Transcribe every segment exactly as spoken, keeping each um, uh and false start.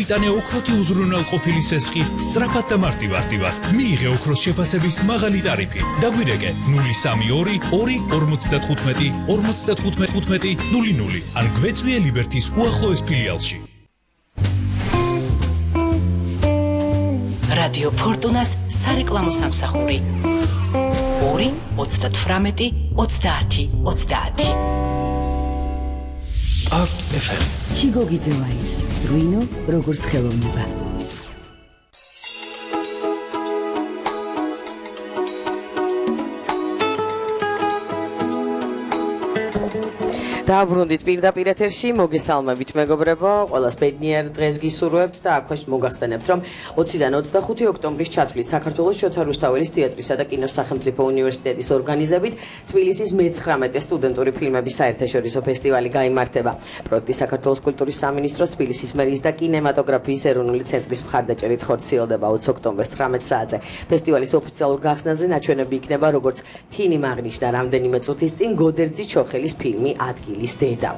მოიტანე ოქროთი უზრუნველყოფილი სესხი სწრაფად და მარტივ-მარტივად. მიიღე ოქროს შეფასების მაღალი ტარიფი. დაგვირეკე ნული სამი ორი ორი ორმოცდათხუთმეტი ორმოცდათხუთმეტი ნული ნული ან გვეწვიე ლიბერთის უახლოეს ფილიალში. რადიო ფორტუნას სარეკლამო სამსახური ორი ოცდათვრამეტი ოცდაათი ოცდაათი. არტ ეფ ემ ჩიგო გიძელაის რუინო როგორც ხელოვნება. დაბრუნდით პირდაპირ ეთერში, მოგესალმებით მეგობრებო, ყველას ბედნიერ დღეს გისურვებთ და აქვეშ მოგახსენებთ, რომ ოციდან ოცდახუთი ოქტომბრის ჩათვლით საქართველოს შოთა რუსთაველის თეატრისა და კინოს სახელმწიფო უნივერსიტეტის ორგანიზებით თბილისის მეცხრამეტე სტუდენტური ფილმების საერთაშორისო ფესტივალი გაიმართება. პროექტი საქართველოს კულტურის სამინისტროს, თბილისის მერის და კინემატოგრაფიის ეროვნული ცენტრის მხარდაჭერით ხორციელდება ოცი ოქტომბერს ცხრამეტ საათზე. ფესტივალის ოფიციალურ გახსნაზე ნაჩვენები იქნება როგორც თინი მაგნიშნა რამდენიმე წუთის წინ გოდერძი ჩოხელის ფილმი ადგილი დედა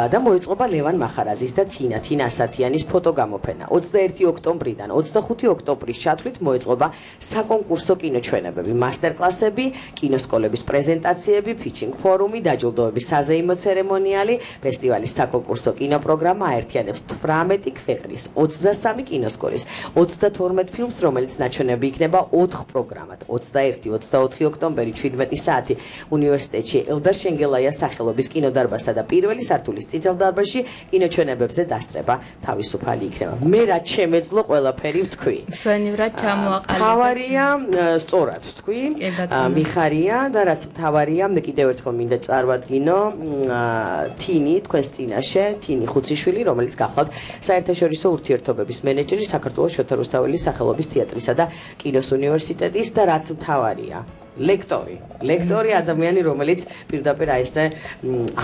და მოეწყობა ლევან მახარაძის და თინა თინა ასათიანის ფოტოგამოფენა. ოცდაერთი ოქტომბრიდან ოცდახუთი ოქტომბრის ჩათვლით მოეწყობა საკონკურსო კინოჩვენებები, მასტერკლასები, კინოსკოლების პრეზენტაციები, ფიჩინგ ფორუმი, დაჯილდოების საზეიმო ცერემონიალი. ფესტივალის საკონკურსო კინოპროგრამა აერთიანებს თვრამეტი ქვეყნის ოცდასამი კინოსკოლის ოცდათორმეტ ფილმს, რომელიც ნაჩვენები იქნება ოთხ პროგრამად. ოცდაერთი ოცდაოთხი ოქტომბერი ჩვიდმეტი საათი უნივერსიტეტში ელდარ შენგელაიას სახელობის კინოდარბაზში და პირველი სართულის წითელ დარბაზში კინოჩვენებებზე დასწრება თავისუფალი იქნება. მე რაც შემეძლო ყველაფერი ვთქვი. შვენივრად ჩამოაყალიბეთ. მთავარია, სწორად ვთქვი, მიხარია და რაც მთავარია, მე კიდევ ერთხელ მინდა წარვადგინო თინი თქვენს წინაშე, თინი ხუციშვილი, რომელიც გახლავთ საერთაშორისო ურთიერთობების მენეჯერი საქართველოს შოთა რუსთაველის სახელობის თეატრისა და კინოს უნივერსიტეტის და რაც მთავარია ლექტორი, ლექტორი ადამიანი, რომელიც პირდაპირ აი ესე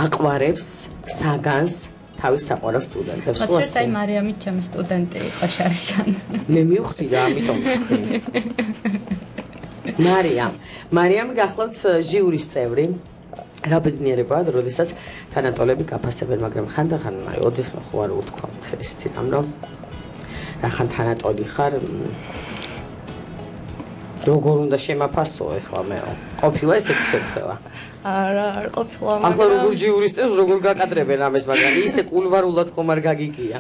აყვარებს საგანს თავის საყვარელ სტუდენტებს. მოწესრიგე აი მარიამი ჩემი სტუდენტი იყო შარშან. მე მივხვდი და ამიტომ ვთქვი. მარიამ, მარიამი გახლავთ ჟიურის წევრი. რა ბედნიერებაა, როდესაც თანატოლები გაფასებენ, მაგრამ ხანდახან აი ოდესმე ხო არ უთქვამთ ესეთი რამ, რომ რახან თანატოლი ხარ. როგორ უნდა შემაფასო ეხლა მეო? ყოფილა ესეთი შემთხვევა? არა, არ ყოფილა. ახლა როგორ ჟიურის წევს როგორ გაკადრებენ ამას, მაგრამ ისე კულვარულად ხომ არ გაგიგია?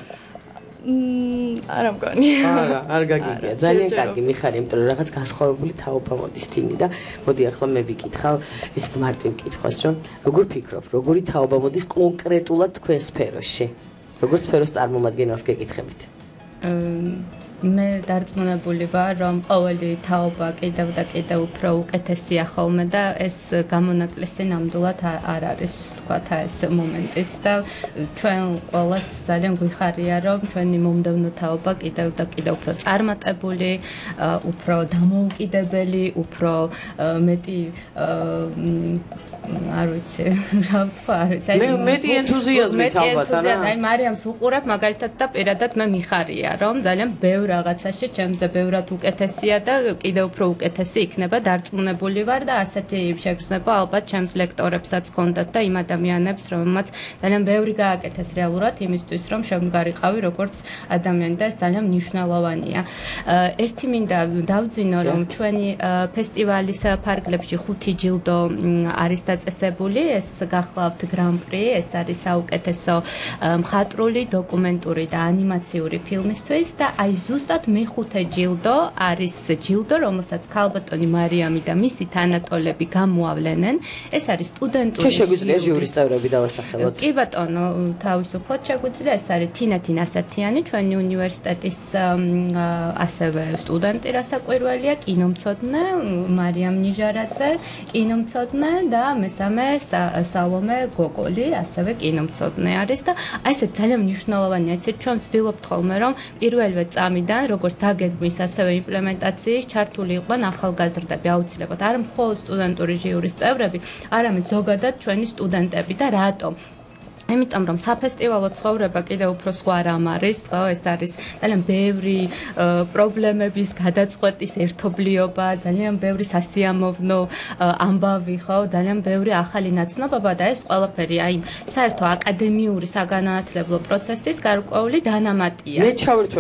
მმ, არა მგონი. არა, არ გაგიგია. ძალიან კარგი მიხარი, იმიტომ რომ რაღაც განსხვავებული თაობა მოდის თინი და მოდი ახლა მე ვიკითხავ ესეთ მარტივ კითხვას, რომ როგორ ფიქრობ, როგორი თაობა მოდის კონკრეტულად თქვენ სფეროში? როგორ სფეროს წარმომადგენელს გეკითხებით? მე დარწმუნებული ვარ, რომ ყოველი თაობა კიდევ და კიდევ უფრო უკეთესია ხოლმე და ეს გამონაკლისი ნამდვილად არ არის, თქვათ, ეს მომენტიც და ჩვენ ყველას ძალიან გვიხარია, რომ ჩვენი მომდევნო თაობა კიდევ და კიდევ უფრო წარმატებული, უფრო დამოუკიდებელი, უფრო მეტი არ ვიცი, რა ვთქვა, არ ვიცი. მე მეტი ენთუზიაზმით ალბათ, არა? აი მარიამს უყურებ მაგალითად და პირადად მე მიხარია, რომ ძალიან ბევრ რაღაცაში ჩემზე ბევრად უკეთესია და კიდევ უფრო უკეთესი იქნება, დარწმუნებული ვარ და ასეთი შეგრძნება ალბათ ჩემს ლექტორებსაც ჰქონდათ და იმ ადამიანებს, რომელმაც ძალიან ბევრი გააკეთეს რეალურად იმისთვის, რომ შემდგარიყავი როგორც ადამიანი და ეს ძალიან მნიშვნელოვანია. ერთი მინდა დავძინო, რომ ჩვენი ფესტივალის ფარგლებში ხუთი ჯილდო არის დაწესებული, ეს გახლავთ გრან-პრი, ეს არის საუკეთესო მხატვრული, დოკუმენტური და ანიმაციური ფილმისთვის და აი ზუსტად მეხუთე ჯილდო არის ჯილდო, რომელსაც ქალბატონი მარიამი და მისი თანატოლები გამოავლენენ. ეს არის სტუდენტური. ჩვენ შეგვიძლია ჟიურის წევრები დავასახელოთ. კი ბატონო, თავისუფლად შეგვიძლია. ეს არის თინა თინა ასათიანი, ჩვენი უნივერსიტეტის ასევე სტუდენტი, რასაკვირველია, კინომცოდნე, მარიამ ნიჟარაძე, კინომცოდნე და მესამე სალომე გოგოლი, ასევე კინომცოდნე არის და აი ეს ძალიან მნიშვნელოვანია. იცით, ჩვენ ვცდილობთ ხოლმე, რომ პირველივე წამიდან, როგორც დაგეგმვის, ასევე იმპლემენტაციის ჩართული იყვნენ ახალგაზრდები აუცილებლად. არ მხოლოდ სტუდენტური ჟიურის წევრები, არამედ ზოგადად ჩვენი სტუდენტები და რატომ? იმიტომ რომ საფესტივალო ცხოვრება კიდევ უფრო სხვა რამ არის, ხო, ეს არის ძალიან ბევრი პრობლემების გადაწყვეტის ერთობლიობა, ძალიან ბევრი სასიამოვნო ამბავი, ხო, ძალიან ბევრი ახალი ნაცნობობა და ეს ყველაფერი აი საერთო აკადემიური საგანმანათლებლო პროცესის გარკვეული დანამატია. მე ჩავერთვე